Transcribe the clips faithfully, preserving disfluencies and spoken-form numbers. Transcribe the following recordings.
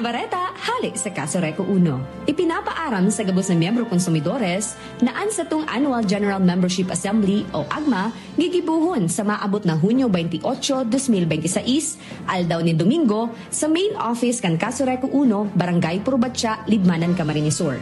Kareta hale sa Casureco Uno. Ipinapaaram sa gabos na miyembro konsumidores na an satong Annual General Membership Assembly o AGMA gigibohon sa maabot na Hunyo twenty-eight, twenty twenty-six, aldaw nin Domingo, sa main office kan Casureco Uno, Barangay Purbatya, Libmanan, Camarines Sur.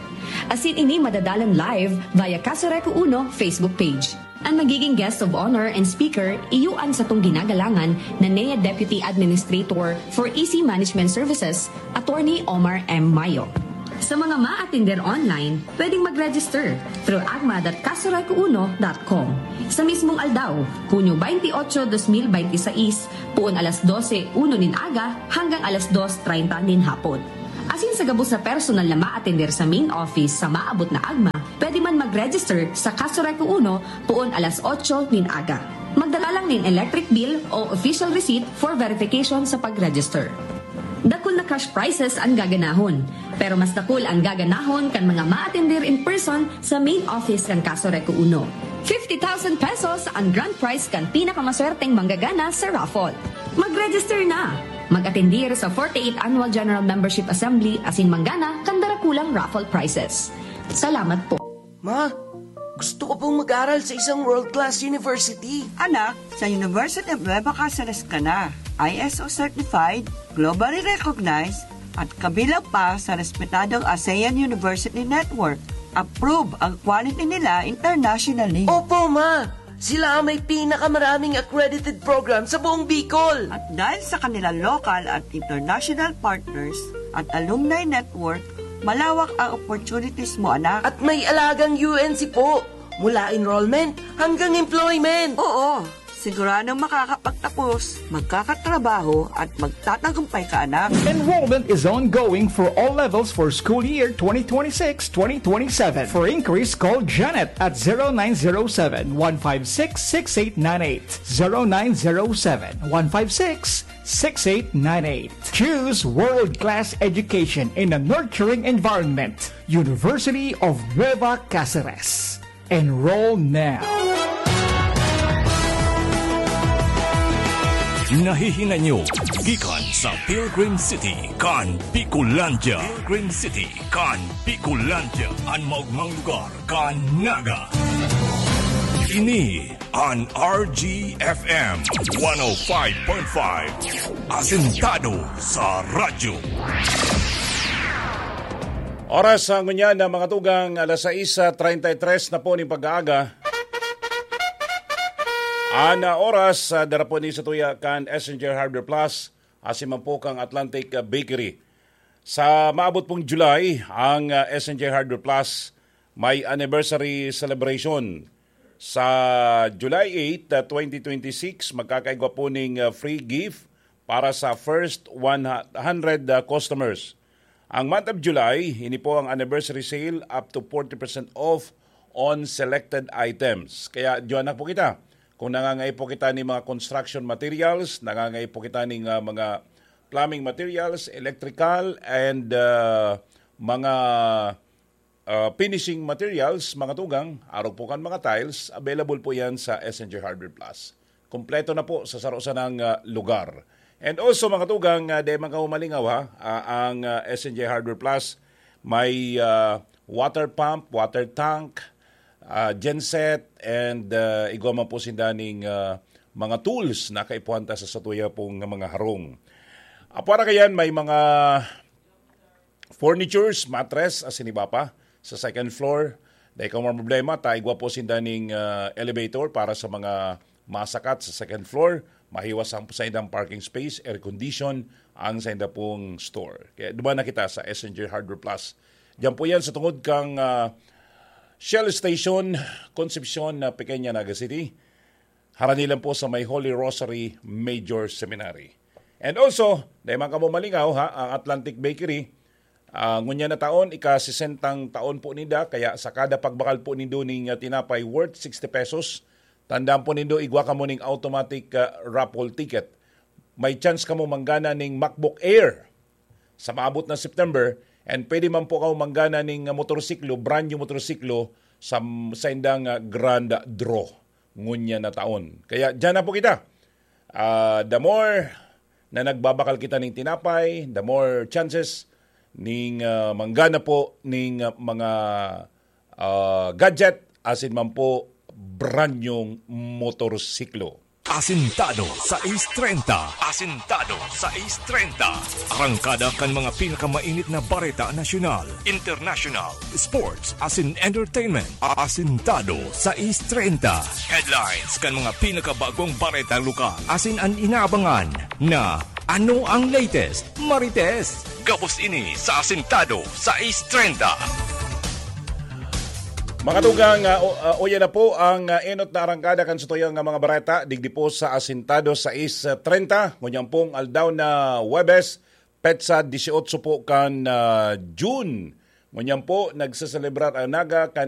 Asin ini madadalan live via Casureco Uno Facebook page. Ang magiging guest of honor and speaker, iyo an satong ginagalangan na N E A Deputy Administrator for E C Management Services, Attorney Omar M. Mayo. Sa mga maatender online, pwedeng mag-register through agma dot casureco uno dot com. Sa mismong aldaw, Hunyo twenty-eight, twenty twenty-six, puon alas dose uno nin aga hanggang alas dos treinta nin hapon. Asin sa gabos na personal na maatender sa main office sa maabot na agma, pwede man mag-register sa Casureco Uno puon alas otso nin aga. Magdala lang nin electric bill o official receipt for verification sa pag-register. Dakul na cash prizes ang gaganahon, pero mas dakul ang gaganahon kan mga maatender in person sa main office kan Casureco Uno. Fifty thousand pesos ang grand prize kan pinakamaswerteng manggagana sa raffle. Mag-register na! Mag-atendir sa forty-eighth Annual General Membership Assembly asin manggana kan darakulang raffle prizes. Salamat po. Ma, gusto ko pong mag-aral sa isang world-class university. Anak, sa University of Nueva Caceres ka na. I S O certified, globally recognized, at kabilang pa sa respetadong ASEAN University Network. Approve ang quality nila internationally. Opo, ma! Sila ang may pinakamaraming accredited program sa buong Bicol. At dahil sa kanilang local at international partners at alumni network, malawak ang opportunities mo, anak. At may alagang U N C po, mula enrollment hanggang employment. Oo, siguradong makakapagtapos, magkakatrabaho at magtatagumpay ka, anak. Enrollment is ongoing for all levels for school year twenty twenty-six twenty twenty-seven. For inquiries, call Janet at zero nine zero seven, one five six, six eight nine eight. zero nine zero seven, one five six, six eight nine eight. Choose world-class education in a nurturing environment. University of Nueva Caceres. Enroll now. Nahihinay nyo gikan sa Pilgrim City kan Bicolandia. Pilgrim City kan Bicolandia, an maogmang lugar kan Naga. Ini an R G F M one oh five point five, asentado sa radyo. Oras sa ngunyan na mga tugang, alas sais treinta y tres na po ning pag-aaga. An, ah, oras, ah, dara po ni sa tuya kan S N J Hardware Plus, asin man po kan Atlantic, ah, Bakery. Sa maabot pong July, ang, ah, S N J Hardware Plus may anniversary celebration. Sa July eight, ah, twenty twenty-six, magkakaigwa po ning, ah, free gift para sa first one hundred, ah, customers. Ang month of July, ini po ang anniversary sale up to forty percent off on selected items. Kaya diyan na po kita. Kung nangangaipo kita ning mga construction materials, nangangaipo kita ning, ah, mga plumbing materials, electrical, and, ah, mga, ah, finishing materials, mga tugang, arog po kan mga tiles, available po yan sa S N J Hardware Plus. Kompleto na po sa saro sanang, ah, lugar. And also, mga tugang, ah, di man kamo malingaw, ha, ah, ang, ah, S N J Hardware Plus may, ah, water pump, water tank, ah, genset, and, ah, igwa man po sinda ning, ah, mga tools na kaipuhan ta sa satuya pong mga harong. Apwara kayan, may mga furnitures, mattress, asin iba pa sa second floor. Dai kamo problema, ta igwa po sinda ning, ah, elevator para sa mga masakat sa second floor. Mahiwas ang saindang parking space, air condition, ang sainda pong store. Kaya duman na kita sa S N J Hardware Plus. Diyan po yan sa tungod kang, ah, Shell Station, Concepcion, na Pequeña, Naga City. Harani lang po sa may Holy Rosary Major Seminary. And also, dai man kamo malingaw, ha, ang Atlantic Bakery, ah, ngunyan na taon, ika-sesentang taon po ninda, kaya sa kada pagbakal po nindo ning, ah, tinapay worth sixty pesos, tandaan po nindo, igwa kamo ning automatic, ah, raffle ticket. May chance kamo manggana ning MacBook Air sa maabot na September, and pwede man po kamo manggana ning, ah, motorsiklo, brand new motorsiklo, sa, sa indang, ah, grand draw ngunyan na taon. Kaya diyan na po kita. Ah, the more na nagbabakal kita ning tinapay, the more chances ning, ah, manggana po ning, ah, mga, ah, gadget asin man po brand nyong motorsiklo. Asintado sa East treinta. Asintado sa East treinta. Arangkada kan mga pinakamainit na bareta nasyonal, international, sports, asin entertainment. Asintado sa East treinta. Headlines kan mga pinakabagong bareta lokal. Asin an inaabangan na ano ang latest, Marites? Gabos ini sa Asintado sa East treinta. Mga tugang, ah, o-, ah, uya na po ang, ah, enot na arangkada kan satuyang nga mga bareta digdi po sa Asintado sa East treinta. Ngunyan pong aldaw na Huwebes, petsa dieciocho po kan, ah, June. Ngunyan po, nagseselebrar ang Naga kan